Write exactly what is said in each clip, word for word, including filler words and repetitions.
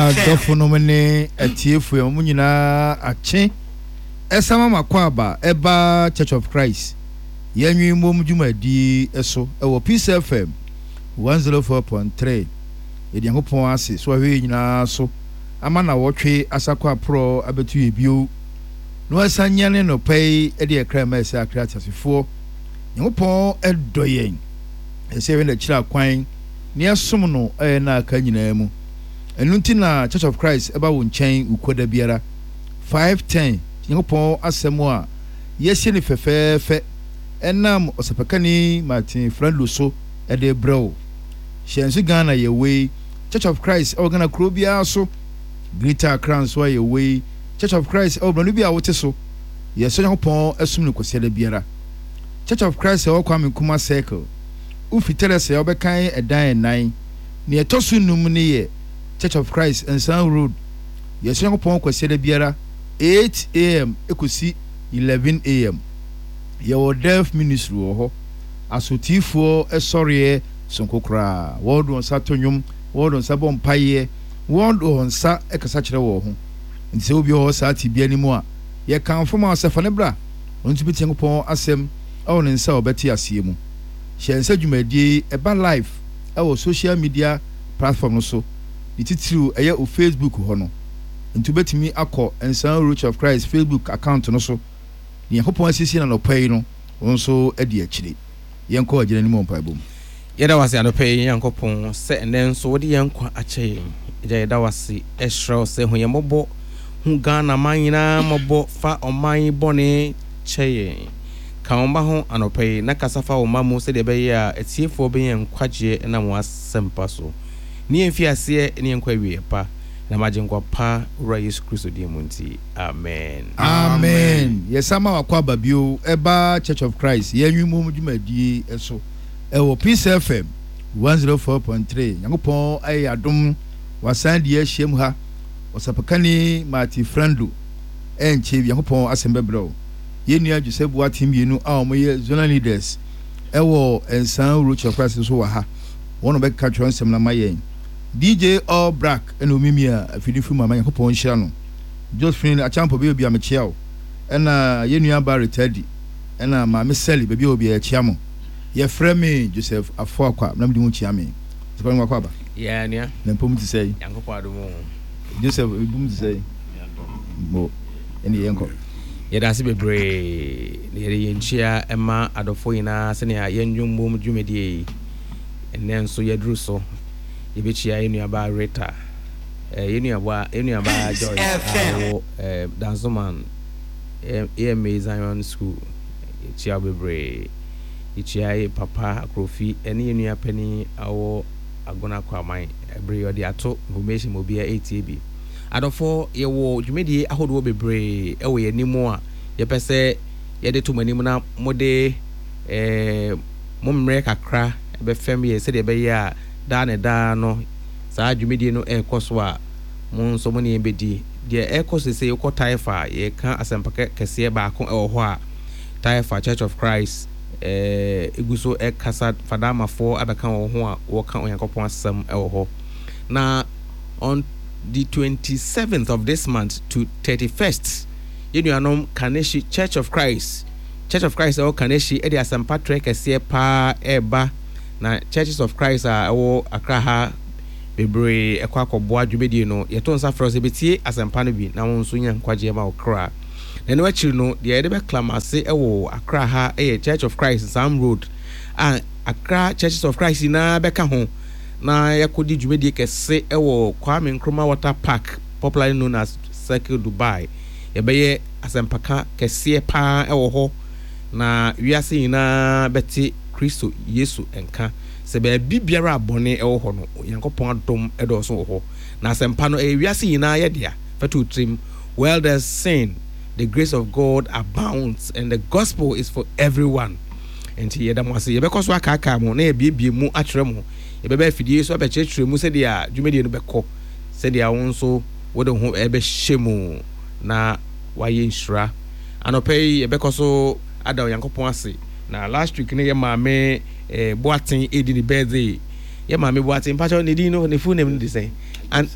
Adɔfonom ne atiefoɔ, mo nyinaa akye. Ɛsan ma makɔ aba ɛba Church of Christ yɛnwe mmom dwumadi so ɛwɔ Peace F M one zero four point three. Yɛde Nyankopɔn ase so ahwɛ yɛn nyinaa so ama na wɔtwe asakɔ aporɔ abɛto yɛ bio na wasan nyane nɔpɛ yi de ɛkra ma ɛsɛ akra ateasefoɔ. Nyankopɔn ɛdɔ yɛn, ɛsɛ yɛhwɛ n'akyiri akwan ne ɛsom no ɛyɛ na aka nyinaa mu. Ɛno nti na Church of Christ ɛba wo nkyɛn wukuada biara five ten. Nyankopɔn asɛm a yɛasie no fɛfɛɛfɛ ɛnam ɔsɛpɛkani Martin Frando so ɛde brɛ wo. Hyɛ nso Ghana yɛwei Church of Christ ɛwɔ Ghana kuro biara so, Greater Accra nso a yɛwei Church of Christ ɛwɔ borɔno bi a wote so. Yɛsɔ Nyankopɔn ɛsom no kwasiada biara. Church of Christ ɛwɔ Kwame Nkrumah Circle, wofi Teresa a wobɛkan ɛdan ɛnan, nea ɛtɔ so num ne yɛ Church of Christ, Nsan Road. Yɛsɔ Nyankopɔn kwasiada biara eight a m ɛkɔsi eleven a m. Yɛwɔ Deaf Ministry wɔ hɔ, asotiifoɔ ɛsɔreɛ sonko koraa. Wɔde wɔn nsa to nnwom, wɔde wɔn nsa bɔ mpaeɛ, wɔde wɔn nsa ɛkasa kyerɛ wɔn ho. Nti sɛ obi wɔ hɔ saa te bia no mu a, yɛkamfo ma sɛ fa ne bra, ɔno nso bɛtie Nyankopɔn asɛm ɛwɔ ne nsa a ɔbɛte aseɛ mu. Hyɛ nsa dwumadie ɛba live ɛwɔ social media platform no so, ne titiriw ɛyɛ o Facebook hɔ no. Nti wobɛtumi akɔ Nsan Roach of Christ Facebook account no so. Ne Nyankopɔn asiesie na nɔpa yi no, wɔn nso adi akyire. Yɛnkɔ agyina anim wɔ mpaebɔ mu. Yɛda wase anɔpɛ yi, Nyankopɔn, sɛ ɛnɛ nso wode yɛn nkwa akyɛ yɛn. Agya, yɛda wase, ɛhyerɛ wo sɛ hu yɛn mmɔbɔ, hu Ghana man nyinaa mmɔbɔ, fa ɔman yi bɔne kyɛ yɛn. Ka wo mma ho anɔpɛ yi na kasa fa wo mma mu sɛdeɛ ɛbɛyɛ a atiefoɔ bɛnya nkwagyeɛ ɛnam wɔn asɛmpa so. Ne yɛn fi aseɛ ne yɛn nkɔ awieɛ pa na magye nkwa pa Wura Yesu Kristo din mu nti, amen. Amen. Yɛsa ma wakɔ aba bio ɛba Church of Christ yɛnwi mu dwumadie so ɛwɔ Peace F M one zero four point three. Nyankopɔn ayɛ adom, wasan di ahyia mu ha. Ɔsapakani Martin Frando ɛnkyɛ bi Nyankopɔn asɛm bɛbrɛ wo. Yɛn nua Joseph Boateng mmienu a wɔyɛ zonal leaders ɛwɔ Nsan Road Church of Christ nso wɔ ha. Wɔn na bɛka twerɛ nsɛm no ama yɛn. D J All Black ɛna omimi a afidi firi mu ama. Nyankopɔn nhyira no. Josephine Achampo bɛyɛ obi a mekyia wo, ɛna yɛn nua ba Retadi, ɛna Maame Sally, baabi a obi a yɛkyia mo. Yɛfrɛ me Joseph Afoakwa na mede ho kyia me sɛ wakɔ aba. Yɛ nua. Na mpom te sɛ Nyankopɔn adom o. Joseph ebum te sɛ mo ɛne yɛnkɔ. Yɛda ase bebree na yɛde yɛn nkyia ma adɔfoɔ nyinaa sɛnea yɛn nnwom dwumadie yi ɛnnɛ nso yɛduru so. Yɛbɛkyia yɛn nuabaa Rita, eh, yɛn nuabaa yɛn nuabaa Joyce a ɔwɔ eh, Dansoman A M A Zion School. Yɛkyia wo bebree. Yɛkyia yɛ papa Akrofi ɛne yɛn nua panin a ɔwɔ Agona Kwaman. Ɛbere yɛde ato information ma obiara ɛretie bi. Adɔfoɔ, yɛwɔ dwumadie ahodoɔ bebree ɛwɔ yɛn anim a yɛpɛ sɛ yɛde to mo anim na mode ɛɛ mo mmerɛ kakra bɛfɛm yɛ sɛdeɛ ɛbɛyɛ a daa ne daa no saa dwumadie no ɛrekɔ so a, mo nso mo ne yɛn bɛdi deɛ ɛrekɔ so. Sɛ yɛkɔ Taifa a, yɛka asɛmpa kɛseɛ baako ɛwɔ hɔ a Taifa Church of Christ ɛɛ egu so ɛkasa. Fadamafoɔ abɛka wɔn ho a wɔka Onyankopɔn asɛm ɛwɔ hɔ. Na on the twenty-seventh of this month to thirty-first, yɛn nuanom Kaneshi Church of Christ, Church of Christ ɛwɔ Kaneshi, ɛde asɛmpa trɛ kɛseɛ paa ɛreba. Na Churches of Christ a ɛwɔ Accra ha bebree ɛkɔ akɔboa dwumadie no. Yɛto nsa frɛ sɛ bɛtie asɛmpa no bi na wɔn nso nya nkwagyeɛ ma wo kra. Na ɛno akyiri no, deɛ yɛde bɛklamase ɛwɔ Accra ha ɛyɛ Church of Christ, Sam Road, a Accra Churches of Christ nyinaa bɛka ho na yɛkɔdi dwumadie kɛse ɛwɔ Kwame Nkrumah Water Park, popularly known as Circle Dubai. Yɛbɛyɛ asɛmpaka kɛseɛ paa ɛwɔ hɔ na wiase nyinaa bɛte Kristo Yesu nka sɛ baabi biara a bɔne ɛwɔ hɔ no, Onyankopɔn adom ɛdɔɔso wɔ hɔ. Na asɛmpa no ɛyɛ wiase nyinaa yɛ dea. Fɛto tirim, well, there's sin, the grace of God abounds, and the gospel is for everyone. Nti yɛda mo ase. Yɛbɛkɔ so akaakaa mo na yɛbiebie mu akyerɛ mo. Yɛbɛbɛ afidie so abɛkyerɛkyerɛ mu sɛdeɛ dwumadie no bɛkɔ, sɛdeɛ wo nso wode ho ɛbɛhyɛ mu na wayɛ nhyira. Anɔpɛ yi yɛbɛkɔ so ada Onyankopɔn ase. Na last week ne yɛ maame eh, Boaten ɛdi ne birthday. Yɛ maame Boaten, mpakyɛw, ne din no, ne full name no de sɛn? An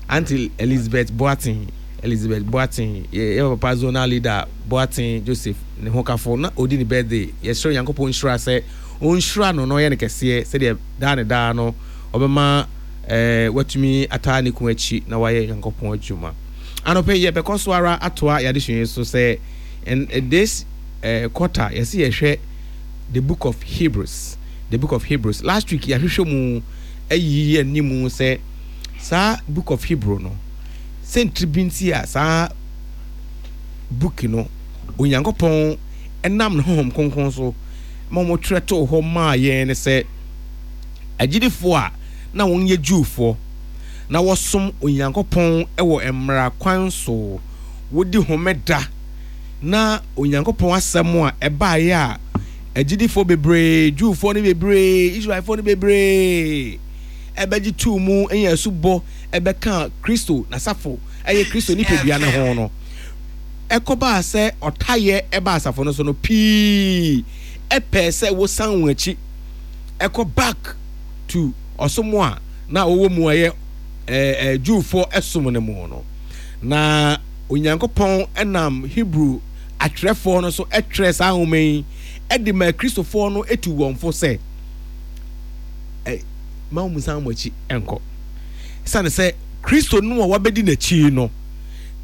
Auntie Elizabeth Boateng, Elizabeth Boateng, yɛ yɛ papa zonal leader Boateng Joseph ne ho kafo na odi ne birthday. Yɛsrɛ Onyankopɔn nhyira sɛ ɔnhyira no na ɔyɛ no kɛseɛ sɛdeɛ daa ne daa no ɔbɛma ɛɛ watumi ataa ne kun akyi na wayɛ Onyankopɔn adwuma. Anɔpɛ yi yɛbɛkɔ so ara atoa yɛn adesua yi so sɛ in this uh, quarter yɛsi yɛhwɛ the book of Hebrews, the book of Hebrews. Last week yɛahwehwɛ mu ayiyi yɛn anim sɛ saa book of Hebrew no sɛntiri bi nti a saa book no Onyankopɔn nam ne honhom kronkron so ma wɔtwerɛ too hɔ maa yɛn ne sɛ agyidifoɔ a na wɔyɛ Jewfoɔ na wɔsom Onyankopɔn wɔ mmara kwan so, wodi homeda, na Onyankopɔn asɛm a ɛbaeɛ a agyidifoɔ bebree, Jewfoɔ no bebree, Israelfoɔ no bebree ɛbɛgye too mu nya asubɔ ɛbɛka Kristo n'asafo, ɛyɛ Kristo nipadua no ho no, ɛkɔbaa sɛ ɔtayɛ ɛba asafo no so no, pii ɛpɛɛ sɛ wosan wɔn akyi ɛkɔ back to ɔsom a na wɔwɔ mu a ɛyɛ ɛɛ Jewfoɔ ɛsom no mu no. Na Onyankopɔn nam Hebrew atwerɛfoɔ no so twerɛ saa nwoma yi de maa Kristofoɔ no tu wɔn fo sɛ, ma wɔn nsan wɔn akyi nkɔ. Esiane sɛ Kristo no a wɔabɛdi n'akyi no,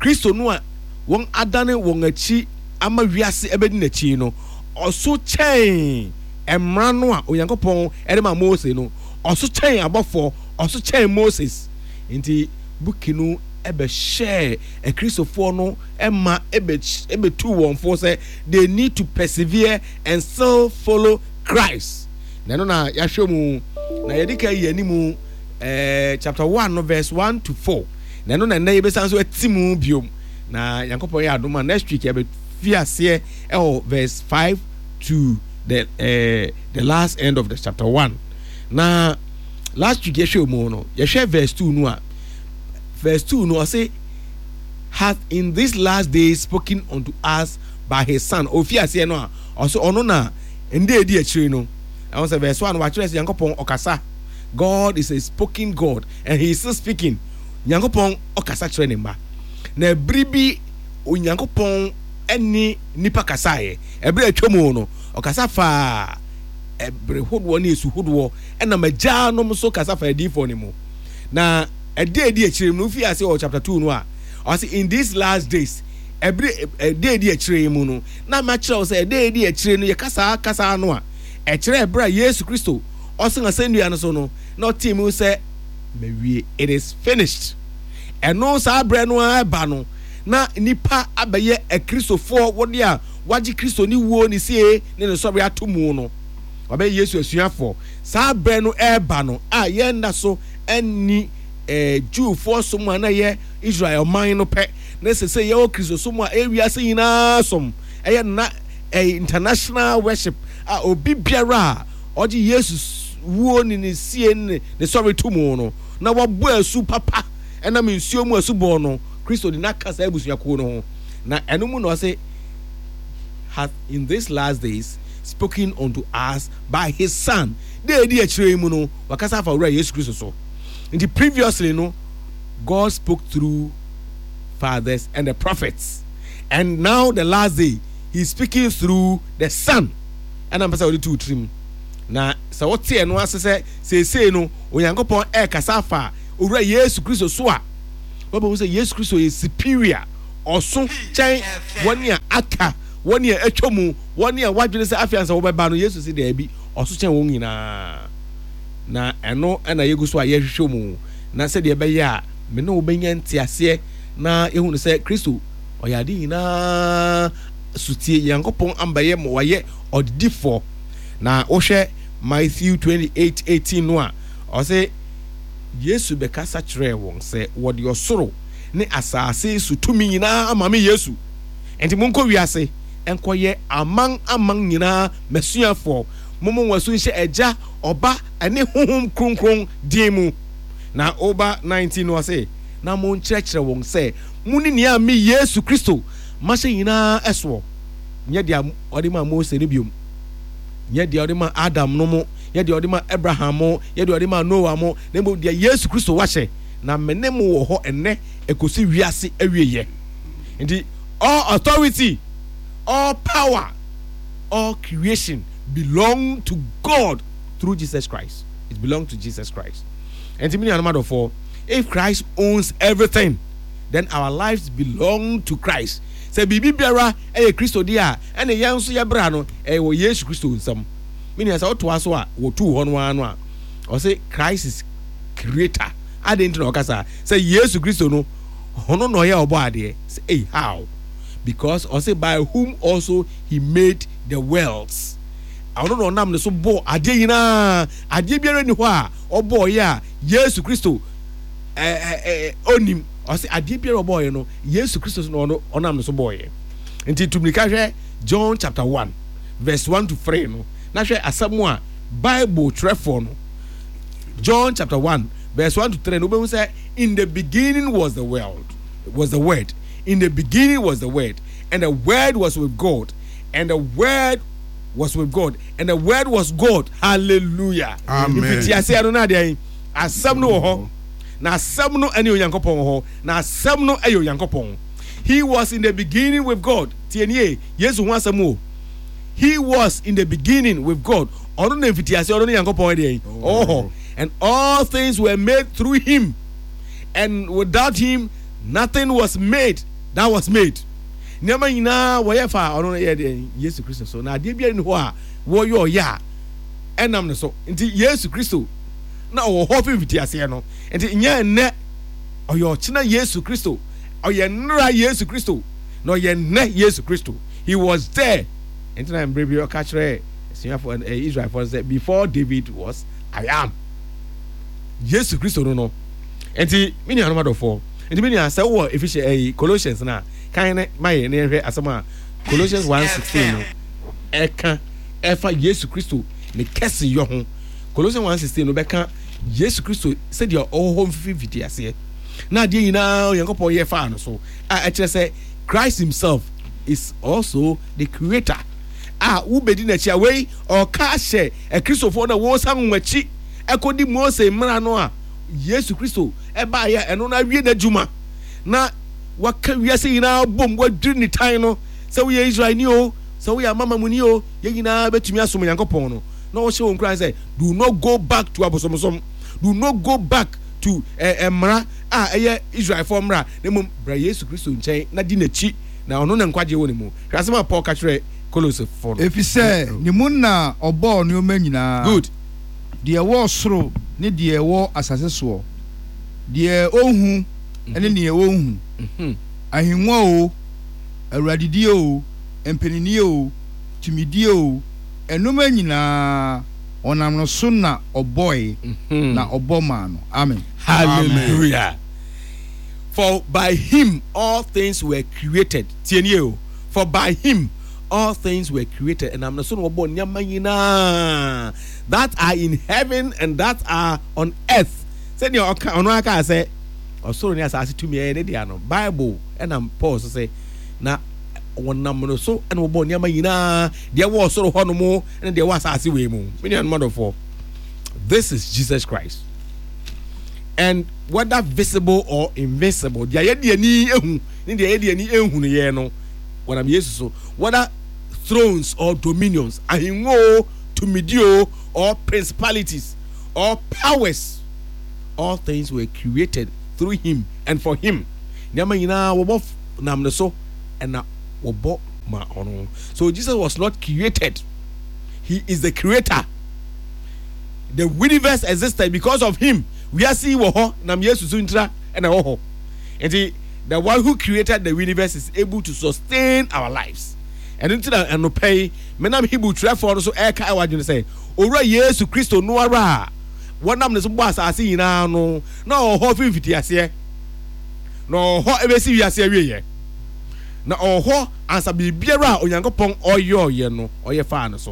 Kristo no a wɔn adane wɔn akyi ama wiase abɛdi n'akyi no, ɔso kyɛn mmara no a Onyankopɔn de maa Mose no, ɔso kyɛn abɔfoɔ, ɔso kyɛn Moses. Nti buki no bɛhyɛɛ Akristofoɔ no ma ɛbɛtuu wɔn fo sɛ they need to persevere and still follow Christ. Na ɛno na yɛahwɛ mu na yɛde ka yi anim eh, chapter one no verse one to four. Na ɛno na ɛnnɛ yɛbɛsan so ati mu biom. Na Nyankopɔn yɛ adom a next week yɛbɛfi aseɛ ɛwɔ verse five to the, eh, the last end of the chapter one. Na last week yɛhwɛ mu no, yɛhwɛ verse two no a, verse two no ɔse hath in this last days spoken unto us by his son. Ofi aseɛ no a ɔse ɔno na nda edi akyire no, ɛho sɛ verse one wakyerɛ sɛ Nyankopɔn ɔkasa. God is a spoken God and he is still speaking. Nyankopɔn ɔkasa kyerɛ ne mma. Na bere bi Onyankopɔn ɛne nipa kasaeɛ. Ɛbere atwa mu no ɔkasa faa ɛbere hodoɔ ne esu hodoɔ ɛnam agyanom so kasa faa adiyifoɔ no mu. Na ɛda edi akyire mu no, wofi ase wɔ chapter two no a, ɔse in these last days, ɛbere ɛda edi akyire yi mu no, na makyerɛ wo sɛ ɛda edi akyire no, yɛka saa kasa no a, ɛkyerɛ ɛberɛ a Yesu Kristo ɔsen asɛnnua no so no, na ɔtee mu sɛ mawie, it is finished. Ɛno saa berɛ no ara ɛba no, na nnipa abɛyɛ akristofoɔ, wɔde a wɔagye Kristo ne wuo ne sie ne ne sɔre ato mu no, wɔabɛyɛ Yesu asuafoɔ. Saa berɛ no ɛreba no a yɛn nna so nni eh, Jewfoɔ som a na ɛyɛ Israel ɔman no pɛ, na ɛsɛ sɛ yɛwɔ Kristosom a ɛyɛ wiase nyinaa som, ɛyɛ na ɛyɛ international worship a obi biara a ɔgye Yesu wuo ne ne sie ne ne sɔre to mu no, na wabɔ asu papa ɛnam nsuo mu asubɔ no, Kristo de no aka saa abusuakuo no ho. Na ɛno mu na ɔse, hath in these last days spoken unto us by his son. Da edi akyire yi mu no, wakasa afa Owura Yesu Kristo so. Nti previously no, God spoke through fathers and the prophets. And now the last day, he is speaking through the son. Ɛna mpɛ sɛ wɔde tu tirim. Na sɛ wote ɛno ase sɛ seesei no Onyankopɔn ɛrekasa afa Owura Yesu Kristo so a, wobɛhu sɛ Yesu Kristo yɛ superior, ɔso kyɛn wɔn a aka, wɔn a atwa mu, wɔn a wɔadwene sɛ afei ansa wɔbɛba no. Yesu se daabi, ɔso kyɛn wɔn nyinaa. Na ɛno na yɛgu so a yɛhwehwɛ mu, na sɛdeɛ ɛbɛyɛ a me ne wo bɛnya nteaseɛ na yɛhunu sɛ Kristo ɔyɛ ade nyinaa sotie. Nyankopɔn ambɛyɛ ma wayɛ ɔdedifoɔ. Na wohwɛ Matthew twenty-eight eighteen no a, ɔse Yesu bɛkasa kyerɛɛ wɔn sɛ, wɔde ɔsoro ne asase so tumi nyinaa ama me Yesu, enti monkɔ wiase nkɔyɛ aman aman nyinaa m'asuafoɔ, mommɔ wɔn asu nhyɛ Agya, Ɔba, ne Honhom Kronkron din mu. Na woba nineteen no ɔse, na monkyerɛkyerɛ wɔn sɛ monni nea me Yesu Kristo mahyɛ nyinaa soɔ, nyɛ deɛ ɔde maa Mose no biom, nyɛ deɛ ɔde maa Adam no mo, nyɛ deɛ ɔde maa Abraham mo, nyɛ deɛ ɔde maa Noah mo, na mmom deɛ Yesu Kristo wahyɛ. Na me ne mo wɔ hɔ ɛnɛ ekosi wiase awieyɛ. Nti all authority, all power, all creation belong to God through Jesus Christ. It belong to Jesus Christ. Nti mi nuanom adɔfoɔ, if Christ owns everything, then our lives belong to Christ. Sɛ biribi biara ɛyɛ Kristo deɛ a, ɛne yɛn nso yɛbra no ɛyɛ wɔ Yesu Kristo nsam. Mi nua, sɛ wotoa so a, wɔtuu hɔ no ara no a, ɔsɛ Christ is creator. Adi nti na ɔkasa sɛ Yesu Kristo no, ɔno na ɔyɛ ɔbɔ adeɛ sɛ hey, how? Because ɔsɛ by whom also he made the worlds. Ɔno na ɔnam ne so bɔ adeɛ nyinaa. Adeɛ biara ni hɔ a ɔbɔɔyɛ a Yesu Kristo ɛɛ ɛɛ onim. Ɔsɛ adeɛ biara ɔbɔɔyɛ no, Yesu Kristo so na ɔno ɔnam ne so bɔɔyɛ. Nti tumika hwɛ John chapter one verse one to three no na hwɛ asɛm a Bible twerɛfoɔ no. John chapter one verse one to three no, wobɛhu sɛ in the beginning was the world was the Word. In the beginning was the Word, and the Word was with God, and the Word was with God, and the Word was God. Hallelujah. Amen. Mfitiaseɛ no na adeɛ yi, asɛm no wɔ hɔ, na asɛm no ɛne Onyankopɔn wɔ hɔ, na asɛm no ɛyɛ Onyankopɔn. He was in the beginning with God. Tie nie, Yesu ho asɛm o. He was in the beginning with God. Ɔno na mfitiaseɛ ɔno ne Nyankopɔn ɛdeɛ yi ɔwɔ hɔ. And all things were made through him, and without him nothing was made that was made. Nneɛma nyinaa wɔyɛ fa ɔno no yɛ deɛ Yesu Kristo so, na adeɛ biara ni hɔ a wɔyɛ ɔyɛ a ɛnam ne so. Nti Yesu Kristo na ɔwɔ hɔ fi mfitiaseɛ no. Nti nyɛ nnɛ, ɔyɛ ɔkyena Yesu Kristo, ɔyɛ nnora Yesu Kristo, na ɔyɛ nnɛ Yesu Kristo. He was there. Nti na mmerɛ bi ɔka kyerɛ asuafoɔ ɛ Israelfoɔ sɛ, "Before David was, I am." Yesu Kristo no no Nti me nuanom adɔfoɔ, nti me nua, sɛ wowɔ Ephesians ɛyi Colossians na kan ne ma yɛ ne yɛhwɛ asɛm a Colossians one sixteen no ɛka ɛfa Yesu Kristo ne kɛseyɔ ho. Colossians one sixteen no bɛka Yesu Kristo sɛdeɛ ɔwɔ hɔ mfifi mfiti aseɛ na adeɛ nyinaa Onyankopɔn yɛ faa no so, a ɛkyerɛ sɛ Christ himself is also the creator a wobɛdi n'akyi a wei ɔka ahyɛ Akristofoɔ no a wɔsan wɔn akyi ɛkɔdi Mose mmara no a Yesu Kristo ɛbaeɛ a ɛno no awie n'adwuma na waka wiase nyinaa bom, wadwiri ne tan no sɛ woyɛ Israelni o, sɛ woyɛ amamamuni o, yɛn nyinaa bɛtumi asom Onyankopɔn no, na ɔhyɛ wɔn nkuran sɛ do not go back to abosomsom, do not go back to eh, mmara a ɛyɛ Israelfoɔ mmara, na mmom bra Yesu Kristo nkyɛn na di n'akyi, na ɔno na nkwagye wɔ ne mu. Hwɛ asɛm a Paul ka kyerɛ Kolosfoɔ no. Ɛfiri sɛ ne mu na ɔbɔɔ nneɛma nyinaa. Good. Deɛ ɛwɔ soro ne deɛ ɛwɔ asase soɔ, deɛ ɔhu ne deɛ ɔnhu, Mhm. ahengua o, awuradidie o, mpaninnie o, tumidie o, ɛnoma nyinaa ɔnam no so na ɔbɔe, Mhm. na ɔbɔ maa no. Amen. Hallelujah. For by him all things were created. Tie nie o. For by him all things were created. And I'm not so wɔbɔ nneɛma nyinaa that are in heaven and that are on earth. Sɛdeɛ ɔka ɔno aka sɛ ɔsoro ne asase tumi ɛyɛ ne dea no, Bible ɛnam Paul so sɛ na wɔnam no so ɛna wɔbɔ nneɛma nyinaa, deɛ ɛwɔ ɔsoro hɔ nom ɛne deɛ ɛwɔ asase wei mu. Me nuanom adɔfoɔ, this is Jesus Christ. And whether visible or invisible, deɛ yɛde ani ehu ne deɛ yɛde ani ehu no yɛ no, wɔnam Yesu so. Whether thrones or dominions, ahengua o, tumidi o, or principalities or powers, all things were created through him and for him. Nneɛma nyinaa wɔbɔ nam ne so ɛna wɔbɔ ma ɔno. So Jesus was not created, he is the creator. The universe existed because of him. Wiase yi wɔ hɔ nam Yesu so ntira ɛna ɛwɔ hɔ. Nti the one who created the universe is able to sustain our lives. Ɛno nti na ɛnopɛ yi menam Hebrew twerɛfoɔ no so ɛreka ɛwɔ adwene sɛ Owura Yesu Kristo no ara a wɔnam ne so bɔ asase nyinaa no na ɔwɔ hɔ fi mfitiaseɛ, na ɔwɔ hɔ ɛbɛsi wiase awieɛ, na ɔwɔ hɔ ansa biribiara a Onyankopɔn ɔyɔɔyɛ no ɔyɛ faa no so.